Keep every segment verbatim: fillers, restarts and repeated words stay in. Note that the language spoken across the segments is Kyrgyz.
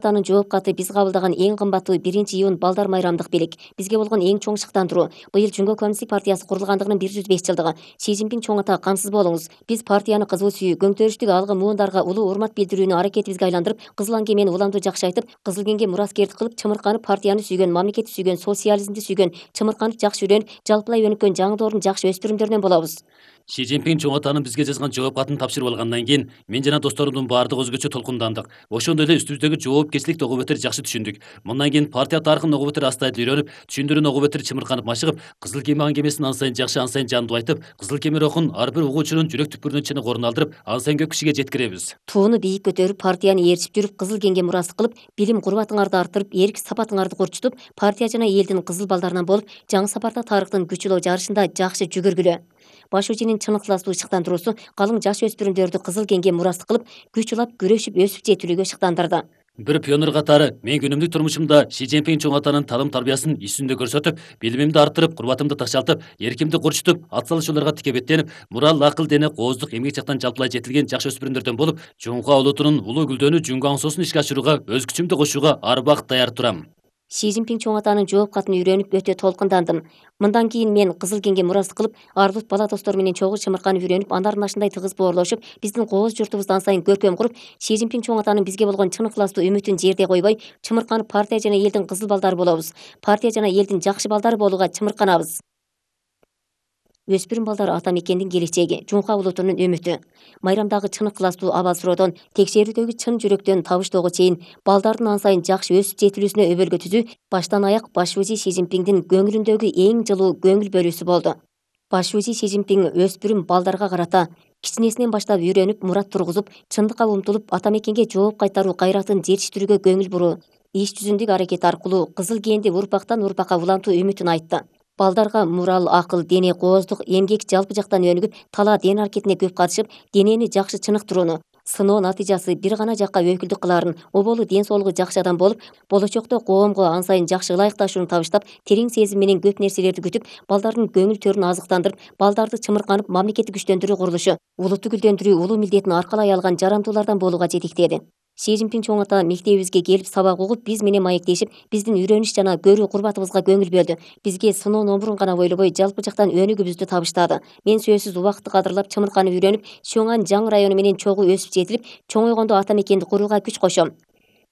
Атанын жооп каты биз кабылдаган эң кымбаттуу биринчи iyun балдар майрамдык белек. Бизге болгон эң чоң шыктандыруу. Быйыл Жүнгө Коммунисттик партиясы курулгандыгынын бир жүз беш жылдыгы. Си Цзиньпин чоң ата камсыз болуңуз. Биз партияны кызуу сүйүү, көңтөрүштүк алгы муундарга улуу урмат билдирүүнү аракетибизге айландырып, кызыл аңгемени уламдуу жакшы айтып, кызыл кеңге мураскердик кылып, чымырканып партияны сүйгөн, мамлекетти сүйгөн, социализмди сүйгөн, чымырканып жакшы үйрөнүп, жалпылай өнүккөн жаңы доордун жакшы өспүрүмдөрүнөн болобуз. Си Цзиньпин чоң атанын бизге жазган жооп катын тапшырып алгандан кийин мен жана досторумдун баардыгы өзгөчө толкундандык. Ошондой эле үстүбүздөгү жоопкерчиликти огу бетер жакшы түшүндүк. Мындан кийин партия тарыхын огу бетер астайт үйрөнүп, түшүндүрүүнү огу бетер чымырканып машыгып, кызыл кеме аңгемесин ан сайын жакшы, ан сайын жандуу айтып, кызыл кеме рухун ар бир угуучунун жүрөк түпкүрүнөн чыныгы орун алдырып, ан сайын көп кишиге жеткиребиз. Тууну бийик көтөрүп, партияны ээрчип жүрүп, кызыл кеңге мурастык кылып, билим курбатыңарды арттырып, эрк сапатыңарды курчутуп, партия жана элдин кызыл балдарынан болуп, жаңы сапарда тарыхтын күчүлөө жарышында жакшы жүгүргүлө. Баш ужинин чын ыктыластуу шыктандыруусу калың жаш өспүрүмдөрдү кызыл кеңге мурастык кылып, күч улап, күрөшүп, өсүп жетилүүгө шыктандырды. Бир пионер катары мен күнүмдүк турмушумда Си Цзиньпин чоң атанын таалым тарбиясын иш жүзүндө көрсөтүп, билимимди арттырып, курбатымды такшалтып, эркимди курчутуп, ат салышууларга тике беттенип, мурал, акыл, дене, кооздук, эмгек жактан жалпылай жетилген жакшы өспүрүмдөрдөн болуп, Чуңка улутунун улуу гүлдөнүү Жүнгө аңсоосун ишке ашырууга өз күчүмдү кошууга ар убакыт даяр турам. Си Цзиньпин чоң атанын жооп катын үйрөнүп өтө толкундандым. Мындан кийин мен кызыл кеңге мурастык кылып, ардут бала достор менен чогуу чымырканып үйрөнүп, андардын ашындай тыгыз боорлошуп, биздин кооз журтубузду ан сайын көркөм куруп, Си Цзиньпин чоң атанын бизге болгон чын ыктыластуу үмүтүн жерде койбой, чымырканып партия жана элдин кызыл балдары болобуз. Партия жана элдин жакшы балдары болууга чымырканабыз. Өспүрүм балдар ата мекендин келечеги, Жунка улутунун үмүтү. Майрамдагы чын ыктыластуу абал суроодон, текшерүүдөгү чын жүрөктөн табыштоого чейин балдардын ан сайын жакшы өсүп жетилүүсүнө өбөлгө түзүү баштан аяк баш узи Си Цзиньпиндин көңүлүндөгү эң жылуу көңүл бөлүүсү болду. Баш узи Си Цзиньпин өспүрүм балдарга карата кичинесинен баштап үйрөнүп, мурат тургузуп, чындыкка умтулуп, ата мекенге жооп кайтаруу кайратын жетиштирүүгө көңүл буруу, иш жүзүндүк аракет аркылуу кызыл кээнди урпактан урпакка улантуу үмүтүн айтты. Балдарга мурал, акыл, дене, кооздук, эмгек жалпы жактан өнүгүп, талаа ден аракетине көп катышып, денени жакшы чыныктырууну, сыноо натыйжасы бир гана жакка өкүлдүк кылаарын, оболу ден соолугу жакшы адам болуп, болочокто коомго ан сайын жакшы ылайыкташууну табыштап, терең сезим менен көп нерселерди күтүп, балдардын көңүл төрүн азыктандырып, балдарды чымырканып, мамлекетти күчтөндүрүү курулушу, улутту гүлдөндүрүү улуу милдетин аркалай алган жарандуулардан болууга жетектеди. Си Цзиньпин чоң ата мектебибизге келип сабак угуп, биз менен маектешип, биздин үйрөнүш жана көрүү курбатыбызга көңүл бөлдү. Бизге сыноо номурун гана бойлобой, жалпы жактан өнүгүүбүздү табыштады. Мен сөзсүз убакытты кадырлап, чымырканып үйрөнүп, Чоңан жаңы району менен чогуу өсүп жетилип, чоңойгондо ата мекенди курууга күч кошом.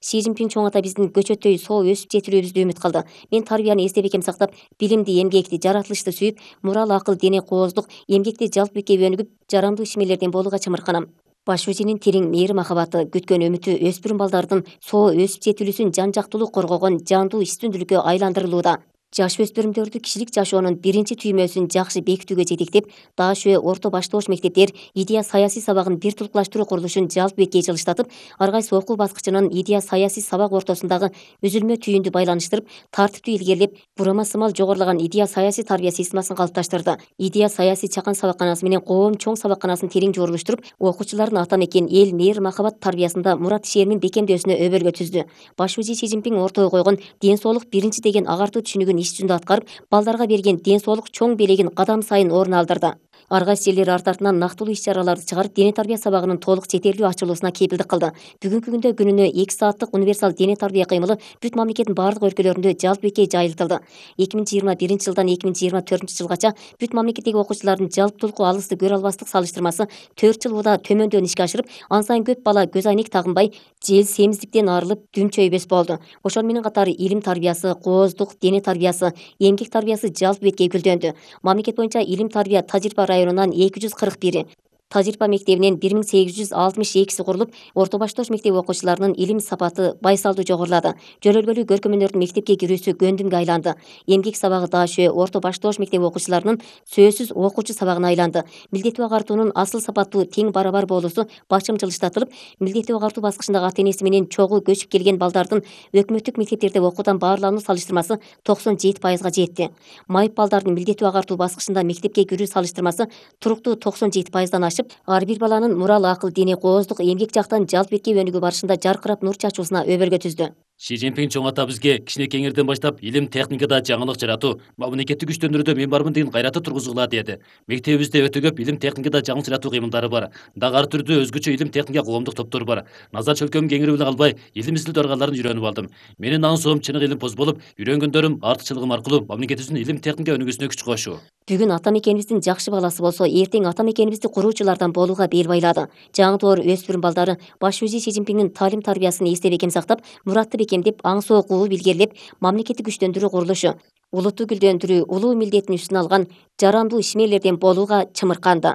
Си Цзиньпин чоң ата биздин көчөттөй соо өсүп жетилүүбүздү үмүт кылды. Мен тарбияны эстеп экем сактап, билимди, эмгекти, жаратылышты сүйүп, мурал, акыл, дене, кооздук, эмгекти жалпы бекке өнүгүп, жарандуу ишмерлерден болууга чымырканам. Баш ужинин терең мээри махабаты, күткөн үмүтү өспүрүм балдардын соо өсүп жетилүүсүн жан жактуулук коргогон жандуу үстүндүүлүккө айландырылууда. Жаш өспүрүмдөрдү кишилик жашоонун биринчи түймөсүн жакшы бекитүүгө жетектеп, Дашө орто баштоош мектептер идея саясий сабагын бир тулукташтыруу курулушун жалпы бекке жылыштатып, ар кайсы окуу баскычынын идея саясий сабак ортосундагы үзүлмө түйүндү байланыштырып, тартиптүү илгерилеп, бурама сымал жогорулаган идея саясий тарбия системасын калыпташтырды. Идея саясий чакан сабакканасы менен коом чоң сабакканасын терең жорулуштуруп, окуучулардын ата мекен, эл, мээр махабат тарбиясында мурат ишенимин бекемдөөсүнө өбөлгө түздү. Баш узи Си Цзиньпин ортого койгон ден соолук биринчи деген агартуу түшүнүгүн иш жүзүндө аткарып, балдарга берген ден соолук чоң белегин кадам сайын орун алдырды. Ар кайсы жерлер арт артынан нактылуу иш чараларды чыгарып, дене тарбия сабагынын толук четерлүү ачылуусуна кепилдик кылды. Бүгүнкү күндө күнүнө эки сааттык универсал дене тарбия кыймылы бүт мамлекеттин бардык өлкөлөрүндө жалпы бекке жайылтылды. эки миң жыйырма биринчи жылдан эки миң жыйырма төртүнчү жылгача бүт мамлекеттеги окуучулардын жалптуулукку алысты көрө албастык салыштырмасы төрт жыл учурда төмөндөн ишке ашырып, ан сайын көп бала көз айнек тагынбай, жел семиздиктен арылып, дүн чөйбөс болду. Ошону менен катары илим тарбиясы, кооздук, дене тарбиясы, эмгек тарбиясы жалпы бетке гүлдөндү. Мамлекет боюнча илим тарбия Тажирба районунан эки жүз кырк бир, Тажирба мектебинен бир миң сегиз жүз алтымыш экиси курулуп, орто баштоош мектеби окуучуларынын илим сапаты байсалдуу жогорулады. Жөнөлгөлүү көркөмөнөрдүн мектепке кирүүсү көндүмгө айланды. Эмгек сабагы Дашө орто баштоош мектеби окуучуларынын сөзсүз окуучу сабагына айланды. Милдеттүү агартуунун асыл сапаттуу тең барабар болуусу башым жылыштатылып, милдеттүү агартуу баскычындагы ата энеси менен чогуу көчүп келген балдардын өкмөттүк мектептерде окуудан баарлануу салыштырмасы токсон жети пайызга жетти. Майып балдардын милдеттүү агартуу баскычында мектепке кирүү салыштырмасы туруктуу токсон жети пайыздан ашып, ар бир баланын мурал, акыл, дене, кооздук, эмгек жактан жалпы бетке өнүгүү барышында жаркырап нур чачуусуна өбөлгө түздү. Ши Цзиньпин чоң ата бизге кичинекеңерден баштап илим техникада жаңылык жаратуу, мамлекетти күчтөндүрүүдө мен бармын деген кайраты тургузгула деди. Мектебибизде өтө көп илим техникада жаңылык жаратуу кыймылдары бар. Дагы ар түрдүү өзгөчө илим техника коомдук топтор бар. Назар чөлкөм кеңири биле калбай, илим изилдөө аргаларын үйрөнүп алдым. Менин аңсоом чыныгы илимпоз болуп, үйрөнгөндөрүм артыкчылыгым аркылуу мамлекетибиздин илим техника өнүгүүсүнө күч кошуу. Бүгүн ата мекенибиздин жакшы баласы болсо, эртең ата мекенибизди куруучулардан болууга бел байлады. Жаңы доор өспүрүм балдары баш музей Ши Цзиньпиндин таалим тарбиясын эсте бекем сактап, муратты бекемдеп, аңсы окууну билгерлеп, мамлекетти күчтөндүрүү курулушу, улутту гүлдөндүрүү улуу милдетин үстүнө алган жарандуу ишмерлерден болууга чымырканды.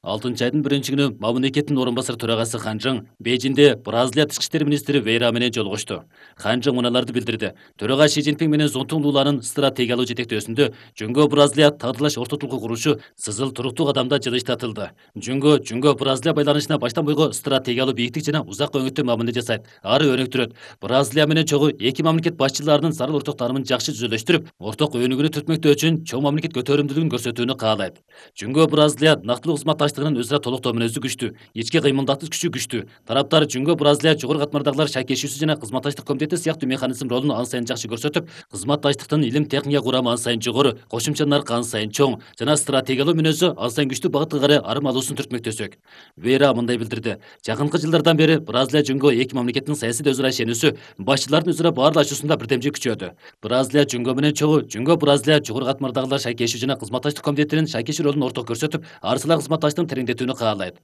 алтынчы айдын биринчи күнү мамлекеттин орун басар төрагасы Хан Чжың Бейжиңде Бразилия тышкы иштер министри Вейра менен жолугушту. Хан Чжың муналарды билдирди. Төрага Ши Цзиньпин менен Зонтун Луланын стратегиялык жетектөөсүндө Жөнгө Бразилия тагдырлаш ортотулку курушу сызыл туруктуу кадамда жылыштатылды. Жөнгө Жөнгө Бразилия байланышына баштан бойго стратегиялык бийиктик жана узак өңүттүү мамиле жасайт. Ары өнүктүрөт. Бразилия менен чогуу эки мамлекет башчыларынын зарыл орток таанымын жакшы түзөлөштүрүп, орток өнүгүүнү түртмөктөө үчүн чоң мамлекет көтөрүмдүүлүгүн көрсөтүүнү каалайт. Жөнгө Бразилия нактылуу кызматташтыгынын өзара толуктоо мүнөзү күчтүү, ички кыймылдатуу күчү күчтүү. Тараптар Жөнгө Бразилия жогорку катмардагылар шайкешүүсү жана кызматташтык комитети сыяктуу механизм ролун ан сайын жакшы көрсөтүп, кызматташтыктын илим техника курамы ан сайын жогору, кошумча наркы ан сайын чоң жана стратегиялуу мүнөзү ан сайын күчтүү багытка карай арым алуусун түртмөктөсөк. Вейра мындай билдирди. Жакынкы жылдардан бери Бразилия Жөнгө эки мамлекеттин саясий өзара ишенүүсү, башчылардын өзара баарлашуусунда бирдемжи күчөдү. Бразилия Жөнгө менен чогуу, Жөнгө Бразилия жогорку катмардагылар шайкешүү жана кызматташтык комитетинин шайкешүү ролун орток көрсөтүп, арсылаа кызматташтыктын тереңдетүүнү каалайт.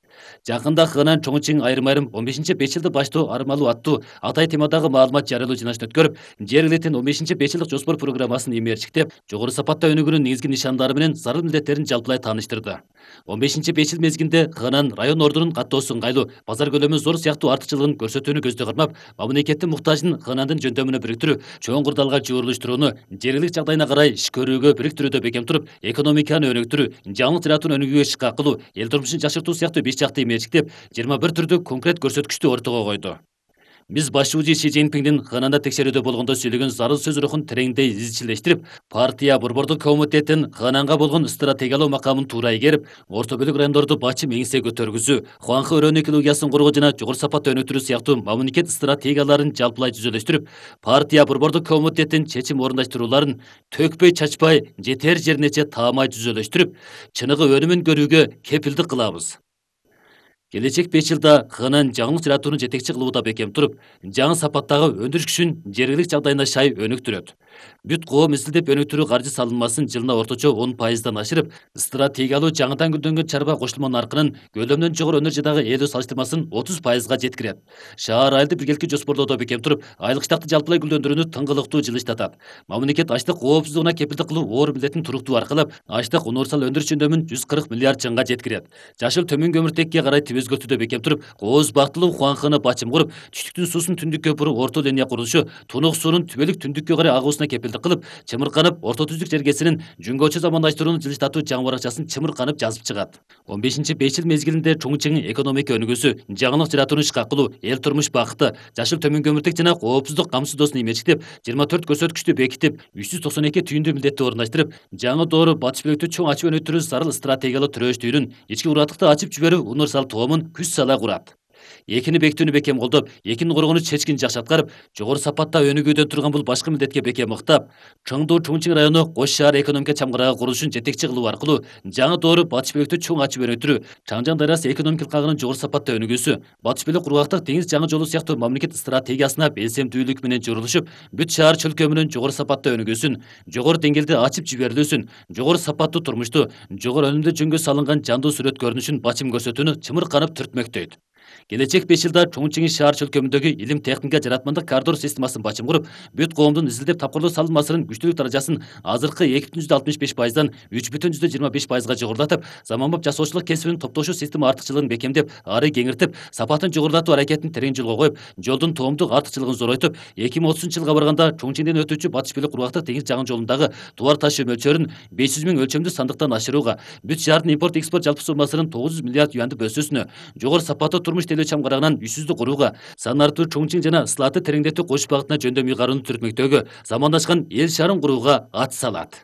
Жакында Хынан Чоңчиң айрым-айрым он бешинчи беш жылды баштоо армалуу аттуу Атай темадагы маалымат жарыялоо жыйналышын өткөрүп, жер элитин он бешинчи беш жылдык жоспор программасын эмерчиктеп, жогору сапатта өнүгүүнүн негизги нишандары менен зарыл милдеттерин жалпылай тааныштырды. он бешинчи беш жыл мезгилинде Хынан район ордунун каттоосу ыңгайлуу, базар көлөмү зор сыяктуу артыкчылыгын көрсөтүүнү көздө кырмап, мамлекеттин муктажын Ханандын жөндөмүнө бириктирүү, чоң кырдаалга жуурулуштурууну, жергилик жагдайына карай иш көрүүгө бириктирүүдө бекем туруп, экономиканы өнүктүрүү, жаңылык жаратууну өнүгүүгө иш кылуу, эл турмушун жакшыртуу сыяктуу беш жакты эмерчиктеп, жыйырма бир түрдүү конкрет көрсөткүчтү ортого койду. Биз башчыбыз Ши Цзиньпиндин Хананда текшерүүдө болгондо сүйлөгөн зарыл сөз рухун тереңдей изчилештирип, партия борбордук комитеттин Хананга болгон стратегиялуу макамын туура ийгерип, орто бөлүк райондорду бачым эңсе көтөргүзүү, Хуанхэ өрөөнү экологиясын коргоо жана жогору сапатта өнүктүрүү сыяктуу мамлекет стратегияларын жалпылай түзөлөштүрүп, партия борбордук комитеттин чечим орундаштырууларын төкпөй чачпай, жетер жеринече таамай түзөлөштүрүп, чыныгы өнүмүн көрүүгө кепилдик кылабыз. Келечек беш жылда Хынан жаңылык жаратууну жетекчи кылууда бекем туруп, жаңы сапаттагы өндүрүш күчүн жергилик жагдайына шай өнүктүрөт. Бүт коом изилдеп өнүктүрүү каржы салынмасын жылына орточо он пайыздан ашырып, стратегиялуу жаңыдан гүлдөнгөн чарба кошулма наркынын көлөмдөн жогору энергиядагы ээлөө салыштырмасын отуз пайызга жеткирет. Шаар айылды биргеликти жоспорлоодо бекем туруп, айлык штатты жалпылай гүлдөндүрүүнү тыңгылыктуу жылыштатат. Мамлекет ачлык коопсуздугуна кепилдик кылуу оор милдетин туруктуу аркылап, ачлык универсал өндүрүш жөндөмүн жүз кырк миллиард чыңга жеткирет. Жашыл төмөн көмүртекке карай өзгөртүүдө бекем туруп, кооз бактылуу Хуанханы бачым куруп, түштүктүн суусун түндүккө буруп, орто линия курулушу тунук суунун түбөлүк түндүккө карай агуусуна кепилдик кылып, чымырканып, орто түздүк жергесинин Жөнгөчө замандаштырууну жылыштатуу жаңы баракчасын чымырканып жазып чыгат. он бешинчи беш жыл мезгилинде Чоңчиңин экономика өнүгүүсү, жаңылык жаратууну ишке кылуу, эл турмуш бакыты, жашыл төмөн көмүртек жана коопсуздук камсыздоосун эмерчиктеп, жыйырма төрт көрсөткүчтү бекитип, үч жүз токсон эки түйүндүү милдетти орундаштырып, жаңы доору батыш бөлүктү чоң ачып өнүктүрүү зарыл стратегиялык төрөштүүнүн, ички ураттыкты ачып жиберүү универсал тоомун күч сала курат. Экини бекитүүнү бекем колдоп, экинин коргоону чечкин жакшы аткарып, жогору сапатта өнүгүүдөн турган бул башкы милдетке бекем ыктап, Чоңду Чоңчиң району кош шаар экономика чамгарагы курулушун жетекчи кылуу аркылуу жаңы доору батыш бөлүктү чоң ачып өнүктүрүү, Чаңжаң дарыясы экономика кагынын жогору сапатта өнүгүүсү, батыш бөлүк кургактык деңиз жаңы жолу сыяктуу мамлекет стратегиясына белсемдүүлүк менен журулушуп, бүт шаар чөлкөмүнүн жогору сапатта өнүгүүсүн, жогору деңгээлде ачып жиберилүүсүн, жогору сапаттуу турмушту, жогору өнүмдүү жөнгө салынган жандуу сүрөт көрүнүшүн бачым көрсөтүүнү чымырканып түртмөктөйт. Келечек беш жылда Чоңчиң шаар чөлкөмүндөгү илим техника жаратмандык коридор системасын бачым куруп, бүт коомдун изилдеп тапкырлоо салынмасынын күчтүүлүк даражасын азыркы эки бүтүн жүздө алтымыш беш пайыздан үч бүтүн жүздө жыйырма беш пайызга жогорулатып, заманбап жасоочулук кесибинин топтошуу система артыкчылыгын бекемдеп, ары кеңиртип, сапатын жогорулатуу аракетин терең жолго коюп, жолдун тоомдук артыкчылыгын зоройтуп, эки миң отузунчу жылга барганда Чоңчиңден өтүүчү батыш бөлүк кургактык деңиз жаңы жолундагы товар ташуу мөлчөрүн беш жүз миң өлчөмдүү сандыктан ашырууга, бүт шаардын импорт экспорт жалпы суммасынын тогуз жүз миллиард юандып өсүүсүнө, жогору сапаттуу турмуш тейлөө чамгарагынан үйсүздүк курууга, сан артуу Чоңчиң жана Слаты тереңдетүү кош багытына жөндөм ыйгарууну түртмөктөөгө, замандашкан эл шаарын курууга ат салат.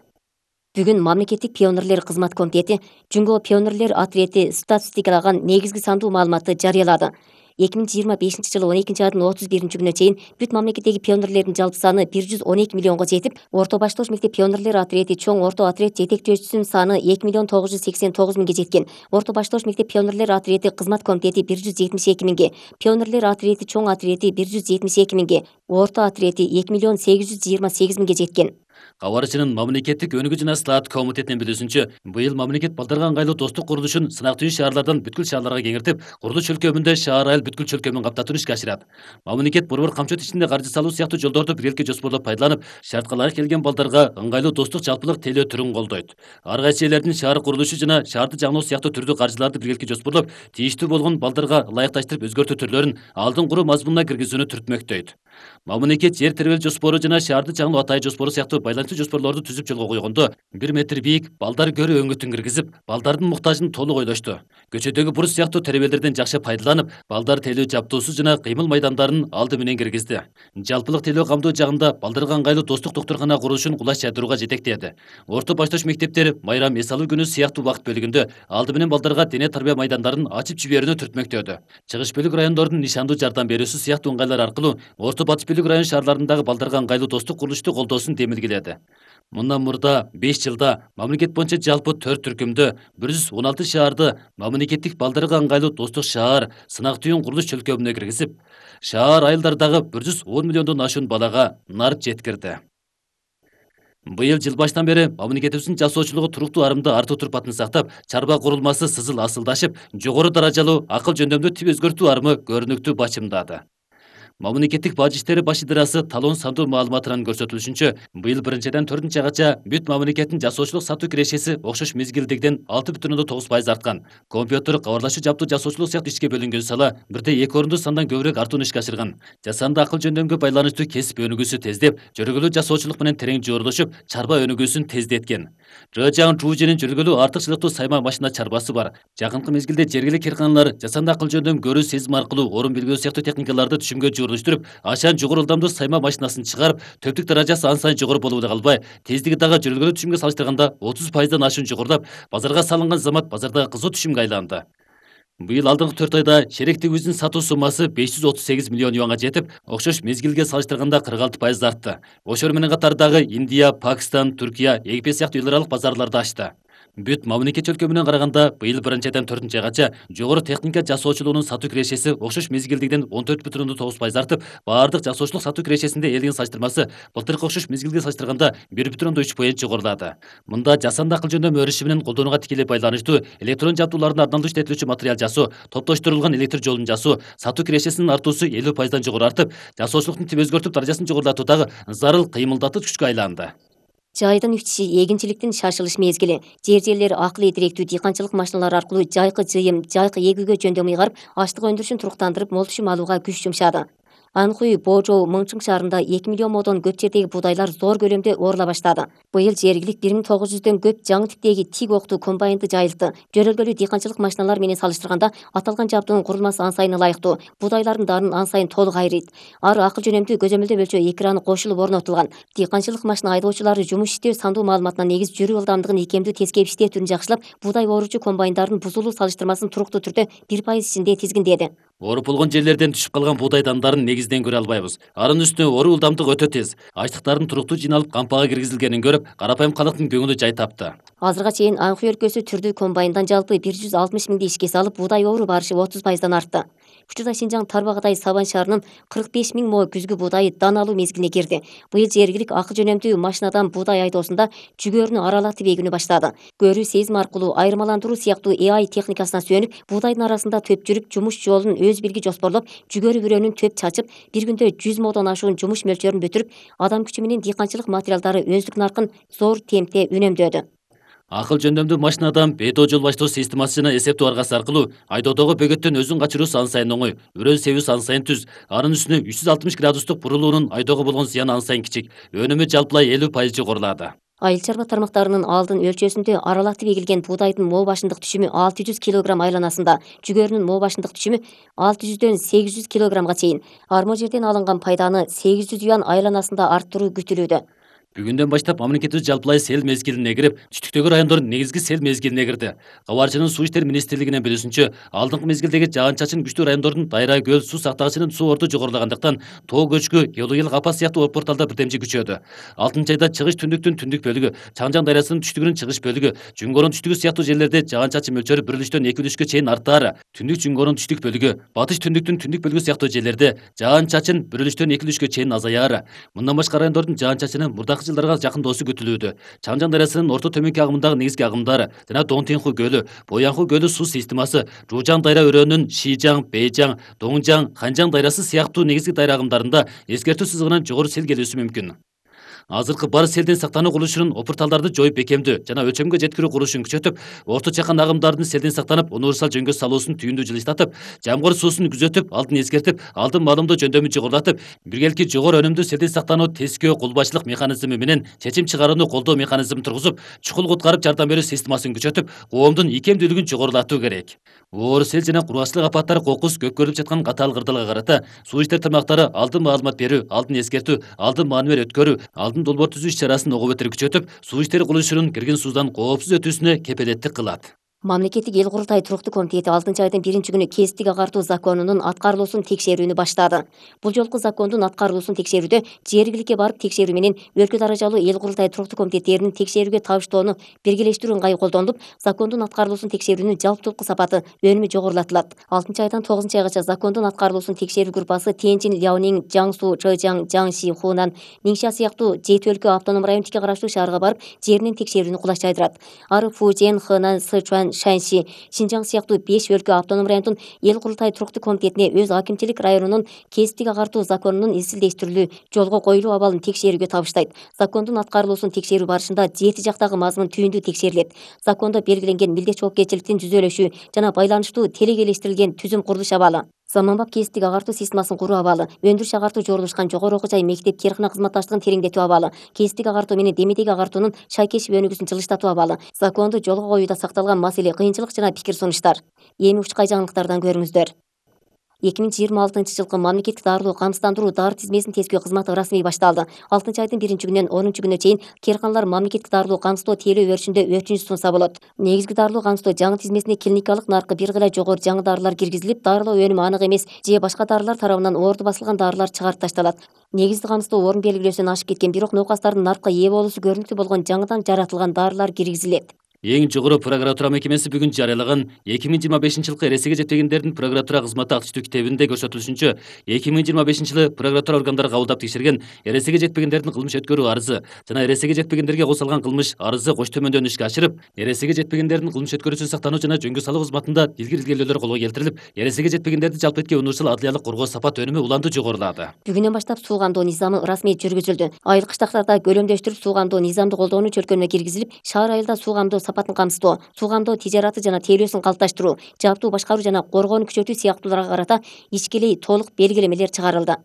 Бүгүн мамлекеттик пионерлер кызмат комитети Жөнгө пионерлер ответи статистикалаган негизги сандуу маалыматты жарыялады. эки миң жыйырма бешинчи жылы он экинчи айдын отуз биринчи күнүнө чейин бүт мамлекеттеги пионерлердин жалпы саны бир жүз он эки миллионго жетип, Орто Баштош мектеп пионерлер отрети чоң орто отред жетекчөөчүсүнүн саны эки миллион тогуз жүз сексен тогуз миңге жеткен. Орто Баштош мектеп пионерлер отрети кызмат комитети бир жүз жетимиш эки миңге, пионерлер отрети чоң отрети бир жүз жетимиш эки миңге, орто отрети эки миллион сегиз жүз жыйырма сегиз миңге жеткен. Кабарчынын мамлекеттик өнүгүү жана слаат комитетинин билүүсүнчө, быйыл мамлекет балдарга ыңгайлуу достук курулушун сынактуу шаарлардан бүткүл шаарларга кеңиртип, курулуш чөлкөмүндө шаар айыл бүткүл чөлкөмүн каптатууну ишке ашырат. Мамлекет борбор камчот ичинде каржы салуу сыяктуу жолдорду биргеликке жоспорлоп пайдаланып, шартка ылайык келген балдарга ыңгайлуу достук жалпылык тейлөө түрүн колдойт. Ар кайсы элдердин шаар курулушу жана шаарды жаңылоо сыяктуу түрдүү каржыларды биргеликке жоспорлоп, тийиштүү болгон балдарга ылайыкташтырып өзгөртүү түрлөрүн алдын куруу мазмунуна киргизүүнү түртмөктөйт. Мамлекет жер тербелүү жоспору жана шаарды жаңылоо атайы жоспору сыяктуу байланыштуу жоспорлорду түзүп жолго койгондо, бир метр бийик балдар көрүү өңүтүн киргизип, балдардын муктажын толук ойлошту. Көчөдөгү буруч сыяктуу теребелерден жакшы пайдаланып, балдар тейлөө жаптуусу жана кыймыл майдандарын алды менен киргизди. Жалпылык тейлөө камдоо жагында балдарга ыңгайлуу достук доктуркана курулушун кулаш жайдырууга жетектеди. Орто Баштош мектептери майрам эс алуу күнү сыяктуу убакыт бөлүгүндө алды менен балдарга дене тарбия майдандарын ачып жиберүүнү түртмөктөдү. Чыгыш бөлүк райондордун нишандуу жардам берүүсү сыяктуу ыңгайлар аркылуу Орто Батыш бөлүк район шаарларындагы балдарга ыңгайлуу достук курулушту колдоосун демилгиледи. Мындан мурда беш жылда мамлекет боюнча жалпы төрт түркүмдө бир жүз он алты шаарды мамлекеттик балдарга ыңгайлуу достук шаар сынак түйүн курулуш чөлкөмүнө киргизип, шаар айылдардагы бир жүз он миллиондон ашуун балага нар жеткирди. Быйыл жыл башынан бери мамлекетибиздин жасоочулугу туруктуу арымда артуу турпатын сактап, чарба курулмасы сызыл асылдашып, жогору даражалуу акыл жөндөмдүү тип өзгөртүү арымы көрүнүктүү бачымдады. Мамлекеттик бажы иштери баш ыдырасы талон сандуу маалыматынан көрсөтүлүшүнчө, быйыл биринчиден төртүнчү айгача бүт мамлекеттин жасоочулук сатуу кирешеси окшош мезгилдегиден алты бүтүн ондон тогуз пайыз арткан. Компьютер, кабарлашуу жаптуу жасоочулук сыяктуу ишке бөлүнгөн сала бирде эки орунду сандан көбүрөөк артууну ишке ашырган. Жасанды акыл жөндөмгө байланыштуу кесип өнүгүүсү тездеп, жөргөлүү жасоочулук менен терең жooрлошуп, чарба өнүгүүсүн тездеткен. Рыжаң Чужинин жөргөлүү артыкчылыктуу сайма машина чарбасы бар. Жакынкы мезгилде жергилик кырканалар жасанды акыл жөндөм көрүү сезим аркылуу орун билбөө сыяктуу техникаларды түшүмгө жooрлоштуруп, ашан жогору ылдамдуу сайма машинасын чыгарып, төптүк даражасы ан сайын жогору болуп эле калбай, тездиги дагы жөргөлүү түшүмгө салыштырганда отуз пайыздан ашуун жогорулап, базарга салынган замат базардагы кызуу түшүмгө айланды. Быйыл алдыңкы төрт айда шеректигибиздин сатуу суммасы беш жүз отуз сегиз миллион юанга жетип, окшош мезгилге салыштырганда кырк алты пайыз артты. Ошол менен катардагы Индия, Пакистан, Түркия, Египет сыяктуу эл аралык базарларды ачты. Бүт мамлекет чөлкөмүнөн караганда, быйыл биринчиден төртүнчү айгача жогору техника жасоочулугунун сатуу кирешеси окшош мезгилдегиден он төрт бүтүн ондон тогуз пайыз артып, баардык жасоочулук сатуу кирешесинде элдин салыштырмасы былтыркы окшош мезгилге салыштырганда бир бүтүн ондон үч пайыз жогорулады. Мында жасанды акыл жөндөм өрүшү менен колдонууга тикелей байланыштуу электрон жабдуулардын арналуу иштетилүүчү материал жасоо, топтоштурулган электр жолун жасоо, сатуу кирешесинин артуусу элүү пайыздан жогору артып, жасоочулуктун тип өзгөртүп даражасын жогорулатуудагы зарыл кыймылдатыч күчкө айланды. Жайдын үтүшү эгинчиликтин шашылыш мезгили. Жер жерлери акылый директүү дыйканчылык машиналары аркылуу жайкы жыйым, жайкы эгүүгө жөндөм ыйгарып, аштык өндүрүшүн туруктандырып, мол түшүм алууга күч жумшады. Анхуй, Божоо, Мыңчың шаарында эки миллион модон көп жердеги будайлар зор көлөмдө оорула баштады. Быйыл жергилик бир миң тогуз жүздөн көп жаңы типтеги тик октуу комбайнды жайылтты. Жөнөлгөлүү дыйканчылык машиналары менен салыштырганда аталган жабдуунун курулмасы ан сайын ылайыктуу, будайлардын данын ан сайын толук айрыйт. Ары акыл жөнөмдүү көзөмөлдөө өлчөө экраны кошулуп орнотулган. Дыйканчылык машина айдоочулары жумуш иштөө сандуу маалыматына негиз жүрүү ылдамдыгын икемдүү тескеп иштөө түрүн жакшылап, будай ооручу комбайндардын бузулуу салыштырмасын туруктуу түрдө бир пайыз ичинде тизгиндеди. Ооруп болгон жерлерден түшүп калган буудай дандарын негизден көрө албайбыз. Анын үстүнө оруу ылдамдык өтө тез. Аштыктардын туруктуу жыйналып кампага киргизилгенин көрүп, карапайым калктын көңүлү жай тапты. Азырга чейин Анхуй өлкөсү түрдүү комбайндан жалпы бир жүз алтымыш миңди ишке салып, буудай оору барышы отуз пайыздан артты. Учурда Шинжаң Тарбагыдай Сабан шаарынын кырк беш миң мо күзгү буудайы дан алуу мезгилине кирди. Быйыл жергилик акыл жөнөмдүү машинадан буудай айдоосунда жүгөрүнү аралатып эгүүнү баштады. Көрүү сезим аркылуу айырмаландыруу сыяктуу э ай техникасына сүйөнүп, буудайдын арасында төп жүрүп, жумуш жолун өз билги жоспорлоп, жүгөрү бүрөөнүн төп чачып, бир күндө жүз модон ашуун жумуш мөлчөрүн бүтүрүп, адам күчү менен дыйканчылык материалдары өздүк наркын зор темпте үнөмдөдү. Акыл жөндөмдүү машинадан бедо жол баштоо системасы жана эсептөө аргасы аркылуу айдоодогу бөгөттөн өзүн качыруусу ан сайын оңой, үрөөн себүүсү ан сайын түз, анын үстүнө үч жүз алтымыш градустук бурулуунун айдоого болгон зыяны ан сайын кичик, өнүмү жалпылай элүү пайыз жогорулады. Айыл чарба тармактарынын алдын өлчөөсүндө аралатып эгилген буудайдын мо башындык түшүмү алты жүз килограмм айланасында, жүгөрүнүн мо башындык түшүмү алты жүздөн сегиз жүз килограммга чейин. Армо жерден алынган пайданы сегиз жүз юан айланасында арттыруу күтүлүүдө. Бүгүндөн баштап мамлекетибиз жалпылай сел мезгилине кирип, түштүктөгү райондор негизги сел мезгилине кирди. Кабарчынын Суу иштери министрлигинин билүүсүнчө, алдыңкы мезгилдеги жаан-чачын күчтүү райондордун Дайра көл суу сактагычынын суу орду жогорулагандыктан тоо көчкү, Елуел Капас сыяктуу порталда бирдемчи күчөдү. алтынчы айда чыгыш түндүктүн түндүк бөлүгү, Чаңжаң дарыясынын түштүгүнүн чыгыш бөлүгү, Жүнгөрүн түштүгү сыяктуу жерлерде жаан-чачын мөлчөрү бир үлүштөн эки үлүшкө чейин артаар. Түндүк Жүнгөрүн түштүк бөлүгү, Батыш түндүктүн түндүк бөлүгү сыяктуу жерлерде жаан-чачын бир үлүштөн эки үлүшкө чейин азаяар. Мындан башка райондордун жаан-чачыны мурдакы жылдарга жакындоосу күтүлүүдө. Чаңжаң дарыясынын орто төмөнкү агымындагы негизги агымдары жана Доңтинху көлү, Боянху көлү суу системасы, Жуужаң дайра өрөөнүн Шижаң, Бейжаң, Доңжаң, Ханжаң дайрасы сыяктуу негизги дайра агымдарында эскертүү сызыгынан жогору сел келүүсү мүмкүн. Азыркы бар селден сактануу курулушунун опурталдарды жоюп бекемдөө жана өлчөмгө жеткирүү курулушун күчөтүп, орто чакан агымдардын селден сактанып, универсал жөнгө салуусун түйүндүү жылыштатып, жамгыр суусун күзөтүп, алдын эскертип, алдын маалымдоо жөндөмүн жогорулатып, биргелки жогору өнүмдүү селден сактануу тескөө кулбачылык механизми менен чечим чыгарууну колдоо механизмин тургузуп, чукул куткарып жардам берүү системасын күчөтүп, коомдун икемдүүлүгүн жогорулатуу керек. Оор сел жана кургаччылык апаттары кокус көккөрүлүп жаткан катаал кырдаалга карата суу иштер тармактары алдын маалымат берүү, алдын эскертүү, алдын маанилер өткөрүү, алдын долбоор түзүү иш-чарасын ого бетер күчөтүп, суу иштери курулушунун кирген суудан коопсуз өтүүсүнө кепелеттик кылат. Мамлекеттик эл курултай туруктуу комитети алтынчы айдын биринчи күнү кесиптик агартуу законунун аткарылуусун текшерүүнү баштады. Бул жолку закондун аткарылуусун текшерүүдө жергиликке барып текшерүү менен өлкө даражалуу эл курултай туруктуу комитеттеринин текшерүүгө табыштоону биргелештирүү ыңгайы колдонулуп, закондун аткарылуусун текшерүүнүн жалптылыктуу сапаты, өнүмү жогорулатылат. алтынчы айдан тогузунчу айгача закондун аткарылуусун текшерүү группасы Тяньжин, Ляонин, Жаңсу, Чжэжяң, Жаңши, Хунан, Нingxia сыяктуу жети өлкө автоном районтикке караштуу шаарга барып, жеринен текшерүүнү кулаш жайдырат. Ары Фужен, Хэнан, Сычуан, Шаньси, Шинжаң сыяктуу беш өлкө автоном райондун эл курултай туруктуу комитетине өз акимчилик районунун кесиптик агартуу законунун изилдештирилүү, жолго коюлуу абалын текшерүүгө табыштайт. Закондун аткарылуусун текшерүү барышында жети жактагы мазмун түйүндүү текшерилет. Закондо белгиленген милдет жоопкерчиликтин жүзөлөшү жана байланыштуу телегелештирилген түзүм курулуш абалы, заманбап кесиптик агартуу системасын куруу абалы, өндүрүш агартуу жорулушкан жогору окуу жай, мектеп, кээркана кызматташтыгын тереңдетүү абалы, кесиптик агартуу менен демедеги агартуунун шайкешип өнүгүүсүн жылыштатуу абалы, законду жолго коюуда сакталган маселе, кыйынчылык жана пикир сунуштар. Эми учкай жаңылыктардан көрүңүздөр. эки миң жыйырма алтынчы жылкы мамлекеттик дарылуу камсыздандыруу дары тизмесин тескөө кызматы расмий башталды. алтынчы айдын биринчи күнүнөн онунчу күнүнө чейин кээрканалар мамлекеттик дарылуу камсыздоо тейлөө өрүшүндө өтүнүч сунса болот. Негизги дарылуу камсыздоо жаңы тизмесине клиникалык наркы бир кыйла жогору жаңы дарылар киргизилип, дарылоо өнүмү анык эмес же башка дарылар тарабынан оорду басылган дарылар чыгарып ташталат. Негизги камсыздоо орун белгилөөсүнөн ашып кеткен, бирок науқастардын наркка ээ болуусу көрүнүктүү болгон жаңыдан жаратылган дарылар киргизилет. Эң жогору прокуратура мекемеси бүгүн жарыялаган эки миң жыйырма бешинчи жылкы эресеге жетпегендердин прокуратура кызматы активдүү китебинде көрсөтүлүшүнчө, эки миң жыйырма бешинчи жылы прокуратура органдары кабылдап текшерген эресеге жетпегендердин кылмыш өткөрүү арызы жана эресеге жетпегендерге кошулган кылмыш арызы кош төмөндөн ишке ашырып, эресеге жетпегендердин кылмыш өткөрүүсүн сактануу жана жөнгө салуу кызматында илгир илгөөлөр колго келтирилип, эресеге жетпегендерди жалпы этке универсал адлиялык коргоо сапат өнүмү уланды жогорулады. Бүгүнөн баштап суу камдоо низамы расмий жүргүзүлдү. Айыл кыштактарда көлөмдөштүрүп суу камдоо низамды колдоонун чөлкөөнүнө киргизилип, шаар айылда суу камдоо сапатын камсыздоо, суу камдоо тижараты жана тейлөөсүн калыпташтыруу, жаптуу башкаруу жана коргоону күчөтүү сыяктууларга карата ичкилей толук белгилемелер чыгарылды.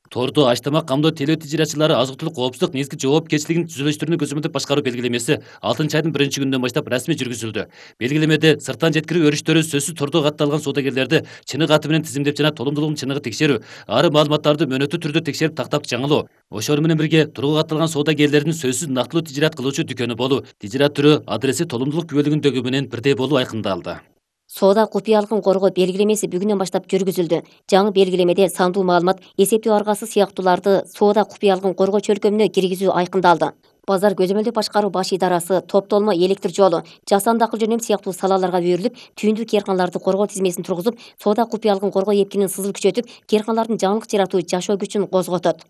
Торду ач-тамак камдоо тейлөө тижаратчылары азык-түлүк коопсуздук негизги жоопкерчилигин түзүлүштүрүүнү көзөмөлдөп башкаруу белгилемеси алтынчы айдын биринчи күнүнөн баштап расмий жүргүзүлдү. Белгилемеде сырттан жеткирүү өрүштөрү сөзсүз тордо катталган соодагерлерди чыныгы аты менен тизимдеп жана толумдуулугун чыныгы текшерүү, ары маалыматтарды мөөнөттүү түрдө текшерип тактап жаңылоо, ошол менен бирге тургу катталган соодагерлердин сөзсүз нактылуу тижарат кылуучу дүкөнү болуу, тижарат түрү, адреси толумдуулук күбөлүгүндөгү менен бирдей болуу айкындалды. Соода купуялыгын коргоо белгилемеси бүгүнөн баштап жүргүзүлдү. Жаңы белгилемеде сандуу маалымат, эсептөө аргасы сыяктууларды соода купуялыгын коргоо чөлкөмүнө киргизүү айкындалды. Базар көзөмөлдөө башкаруу баш идарасы, топтолмо электр жолу, жасанды акыл жөнөм сыяктуу салаларга берилип, түйүндүү кээрканаларды коргоо тизмесин тургузуп, соода купуялыгын коргоо эпкинин сызыл күчөтүп, кээрканалардын жаңылык жаратуу жашоо күчүн козготот.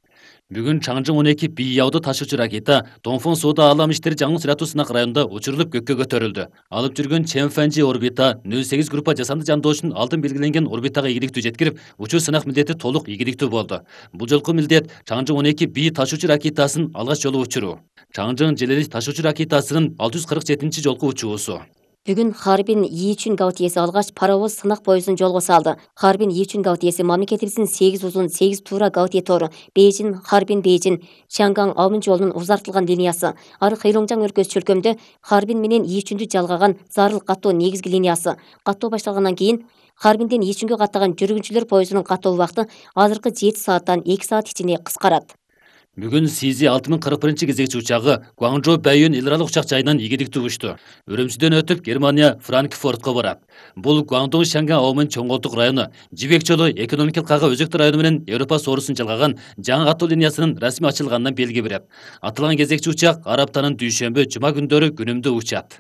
Бүгүн Чаңжың он эки бий яуду ташуучу ракета Донфон соода аалам иштери жаңылык жаратуу сынак районунда учурулуп көккө көтөрүлдү. Алып жүргөн Чэнфэнжи орбита нөл сегиз группа жасанды жандоочун алдын белгиленген орбитага ийгиликтүү жеткирип, учуу сынак милдети толук ийгиликтүү болду. Бул жолку милдет Чаңжың он эки бий ташуучу ракетасын алгач жолу учуруу. Чаңжың Желелис ташуучу ракетасынын алты жүз кырк жетинчи жолку учуусу. Бүгүн Харбин Ийчүн Гаутиеси алгач паровоз сынак поездун жолго салды. Харбин Ийчүн Гаутиеси мамлекетибиздин сегиз узун, сегиз туура Гаутие тору, Бейжин, Харбин Бейжин, Чанган Аумин жолунун узартылган линиясы. Ары Хыйлоңжаң өлкөсү чөлкөмдө Харбин менен Ийчүндү жалгаган зарыл каттоо негизги линиясы. Каттоо башталгандан кийин Харбинден Ийчүнгө каттаган жүргүнчүлөр поездунун каттоо убакыты азыркы жети сааттан эки саат ичинде кыскарат. Бүгүн Сизи алты миң кырк биринчи кезекчи учагы Гуанчжоу Бэйюн эл аралык учак жайынан ийгиликтүү учту. Үрүмчүдөн өтүп Германия Франкфуртко барат. Бул Гуандун Шанга Аумын чоңголтук району, Жибек жолу экономикалык кага өзөктүү району менен Европа соорусун жалгаган жаңы катуу линиясынын расмий ачылганынан белги берет. Аталган кезекчи учак ар аптанын дүйшөмбү, жума күндөрү күнүмдү учат.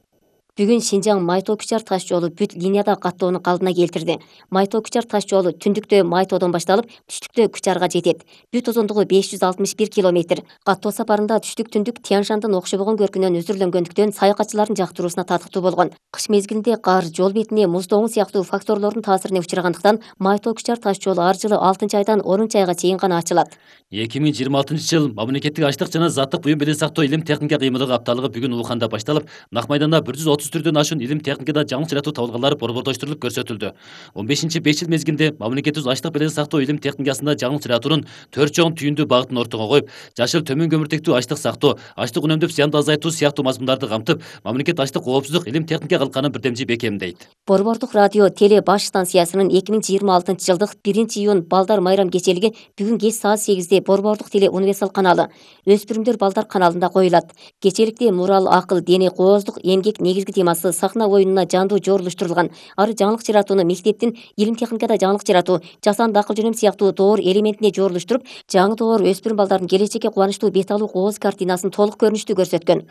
Бүгүн Шинжаң Майтоо Кучар таш жолу бүт линияда каттоону калдына келтирди. Майтоо Кучар таш жолу түндүктө Майтоодон башталып, түштүктө Кучарга жетет. Бүт узундугу беш жүз алтымыш бир километр. Каттоо сапарында түштүк түндүк Тяншандын окшобогон көркүнөн өзүрлөнгөндүктөн саякатчылардын жактыруусуна татыктуу болгон. Кыш мезгилинде кар, жол бетине муздогуу сыяктуу факторлордун таасирине учурагандыктан Майтоо Кучар таш жолу ар жылы алтынчы айдан онунчу айга чейин гана ачылат. эки миң жыйырма алтынчы жыл мамлекеттик ачлык жана заттык буюм белен сактоо илим техника кыймылыгы апталыгы бүгүн Уханда башталып, Нак майданда бир жүз отуз түрдөн ашуун илим техникада жаңылык жаратуу табылганлар борбордоштурулуп көрсөтүлдү. он бешинчи беш жыл мезгилинде мамлекетибиз ачлык белен сактоо илим техникасында жаңылык жаратуунун төрт чоң түйүндүү багытын ортого коюп, жашыл төмөн көмүртектүү ачлык сактоо, ачлык үнөмдөп зыянды азайтуу сыяктуу мазмундарды камтып, мамлекет ачлык коопсуздук илим техника калканын бирдемчи бекемдейт. Борбордук радио теле баш станциясынын эки миң жыйырма алтынчы жылдык биринчи июнь балдар майрам кечелиги бүгүн кеч саат сегизде Борбордук теле универсал каналы, Өспүрүмдөр балдар каналында коюлат. Кечеликте мурал, акыл, дене, кооздук, эмгек негизги темасы сахна оюнуна жандуу жорулуштурулган. Ары жаңылык жаратууну мектептин илим техникада жаңылык жаратуу, жасанды акыл жөнөм сыяктуу доор элементине жорулуштуруп, жаңы доор өспүрүм балдардын келечекке кубанычтуу бет алуу кооз картинасын толук көрүнүштүү көрсөткөн.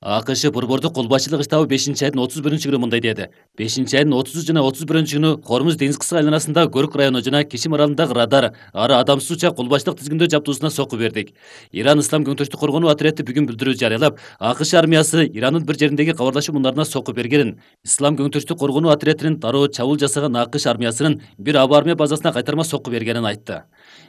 АКШ борбордук кол башчылык штабы бешинчи айдын отуз биринчи күнү мындай деди. бешинчи айдын отузу жана отуз биринчи күнү Хормуз деңиз кыскы айланасында Көрүк району жана Кишим аралындагы радар, ары адамсыз учак кол башчылык тизгиндөө жаптуусуна сокку бердик. Иран Ислам көңтүрүштү коргонуу отряды бүгүн билдирүү жарыялап, АКШ армиясы Ирандын бир жериндеги кабарлашуу муундарына сокку бергенин, Ислам көңтүрүштү коргонуу отрядынын дароо чабуул жасаган АКШ армиясынын бир аба армия базасына кайтарма сокку бергенин айтты.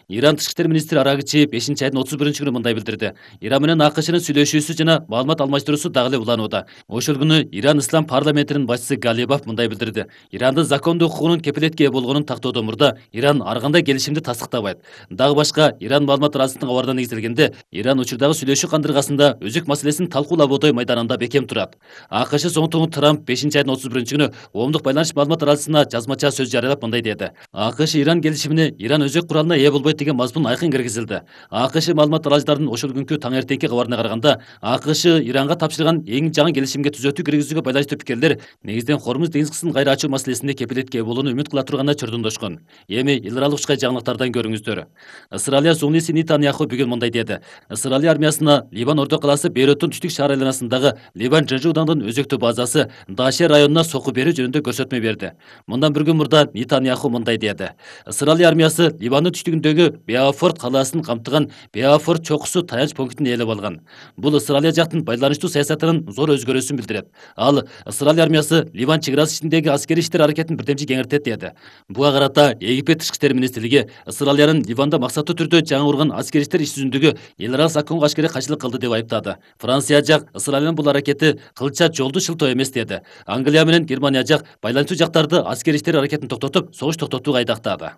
Иран тышкы иштер министри Арагчи бешинчи айдын отуз биринчи күнү мындай билдирди. Иран менен АКШнын сүйлөшүүсү жана маалымат алмаштыруусу дагы эле уланууда. Ошол күнү Иран Ислам парламентинин башчысы Галибов мындай билдирди. Ирандын закондуу укугунун кепилетке ээ болгонун тактоодон мурда Иран ар кандай келишимди тастыктабайт. Дагы башка Иран маалымат арасындагы кабарына негизделгенде, Иран учурдагы сүйлөшүү кандыргасында өзүк маселесин талкуулап Бодой майданында бекем турат. АКШ соңтугу Трамп бешинчи айдын отуз биринчи күнү коомдук байланыш маалымат арасына жазмача сөз жарыялап мындай деди. АКШ Иран келишимине Иран өзөк куралына ээ болбойт деген мазмун айкын киргизилди. АКШ маалымат аралыждарынын ошол күнкү таң эртеңки кабарына караганда, АКШ Иранга тапшырган эң жаңы келишимге түзөтүү киргизүүгө байланыштуу пикирлер негизинен Хормуз деңиз кысын кайра ачуу маселесинде кепилетке ээ болууну үмүт кыла турганына чордондошкон. Эми эл аралык учка жаңылыктардан көрүңүздөр. Ысыралия Зулниси Нетаньяху бүгүн мындай деди. Ысыралия армиясына Ливан ордо калаасы Бейруттун түштүк шаар айланасындагы Ливан Жежудандын өзөктүү базасы Даше районуна сокку берүү жөнүндө көрсөтмө берди. Мындан бир күн мурда Нетаньяху мындай деди. Ысыралия армиясы Ливандын түштүгүндөгү Беафорт калаасын камтыган Беафорт чокусу таянч пунктун ээлеп алган. Бул Ысыралия жактын байланыштуу саясатынын зор өзгөрүүсүн билдирет. Ал Ысыралия армиясы Ливан чек-арасы ичиндеги аскерий иштер аракетин бирдемчи кеңиртет деди. Буга карата Египет тышкы иштер министрлиги Ысыралиянын Ливанда максаттуу түрдө жаңы курган аскерий иштер иш жүзүндөгү эл аралык законго ашкере кайшылык кылды деп айыптады. Франция жак Ысыралиянын бул аракети кылча жолду шылтоо эмес деди. Англия менен Германия жак байланышчу жактарды аскерий иштер аракетин токтотуп, согуш токтотууга айдактады.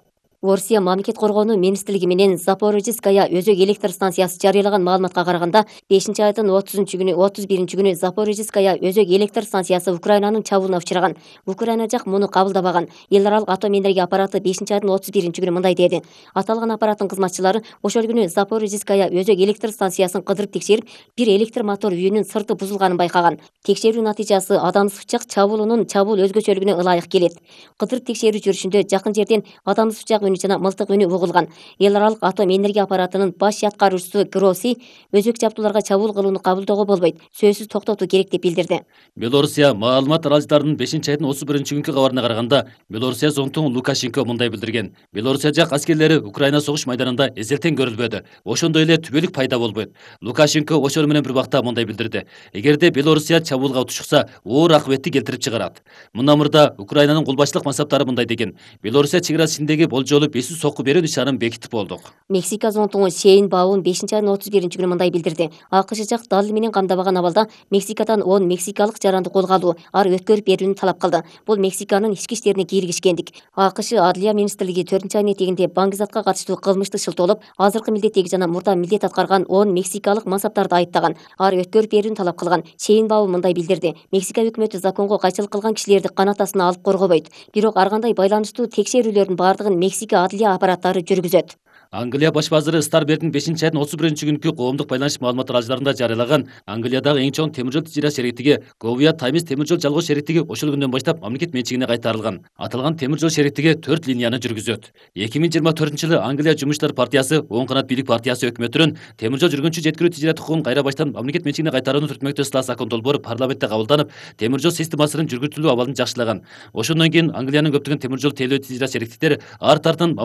Орусия мамлекет коргоонуу министрлиги менен Запорожецкая өзөк электр станциясы жарыялаган маалыматка караганда, бешинчи айдын отузунчу күнү отуз биринчи күнү Запорожецкая өзөк электр станциясы Украинанын чабуулуна учураган. Украина жак муну кабылдабаган. Эл аралык атом энергия аппараты бешинчи айдын отуз биринчи күнү мындай деди. Аталган аппараттын кызматчылары ошол күнү Запорожецкая өзөк электр станциясын кыдырып текшерип, бир электр мотор үйүнүн сырты бузулганын байкаган. Текшерүү натыйжасы адамсыз учак чабуулунун чабуул өзгөчөлүгүнө ылайык келет. Кыдырып текшерүү жүрүшүндө жакын жерден адамсыз учак жана мылтык үнү угулган. Эл аралык атом энергия аппаратынын баш аткаруучусу Гросси өзөк жабдууларга чабуул кылууну кабылдоого болбойт, сөзсүз токтотуу керек деп билдирди. Белорусия маалымат аралыждарынын бешинчи айдын отуз биринчи күнкү кабарына караганда, Белорусия зонтугу Лукашенко мындай билдирген. Белорусия жак аскерлери Украина согуш майданында эзелтен көрүлбөдү. Ошондой эле түбөлүк пайда болбойт. Лукашенко ошол менен бир убакта мындай билдирди. Эгерде Белорусия чабуулга тушукса, оор акыбетти келтирип чыгарат. Мындан мурда Украинанын кол башчылык мансаптары мындай деген. Белорусия чек арасы ичиндеги болжолу беш жүз сокку берүү нишанын бекитип болдук. Мексика зонтугу Шейн Баун бешинчи айдын отуз биринчи күнү мындай билдирди. АКШ жак далил менен камдабаган абалда Мексикадан он мексикалык жаранды колго алуу, ары өткөрүп берүүнү талап кылды. Бул Мексиканын ички иштерине кийлигишкендик. АКШ Адлия министрлиги төртүнчү айдын этегинде баңгизатка катыштуу кылмышты шылтоолоп, азыркы милдеттеги жана мурда милдет аткарган он мексикалык мансаптарды айыптаган, ары өткөрүп берүүнү талап кылган. Шейн Баун мындай билдирди. Мексика өкмөтү законго кайчылык кылган кишилерди канат астына алып коргобойт. Бирок ар кандай байланыштуу текшерүүлөрдүн бардыгын Мексика кичике адлия аппараттары жүргүзөт. Англия баш базыры Старбердин бешинчи айдын отуз биринчи күнкү коомдук байланыш маалымат аралыктарында жарыялаган Англиядагы эң чоң темир жол тижира шериктиги Говия Таймс темир жол жалгоо шериктиги ошол күндөн баштап мамлекет менчигине кайтарылган. Аталган темир жол шериктиги төрт линияны жүргүзөт. эки миң жыйырма төртүнчү жылы Англия Жумуштар партиясы оң канат бийлик партиясы өкмөтүнүн темир жол жүргүнчү жеткирүү тижират укугун кайра баштан мамлекет менчигине кайтарууну түртмөктө ысла закон долбоору парламентте кабылданып, темир жол системасынын жүргүзүлүү абалын жакшылаган. Ошондон кийин Англиянын көптөгөн темир жол тейлөө тижира шериктиктери ар тартын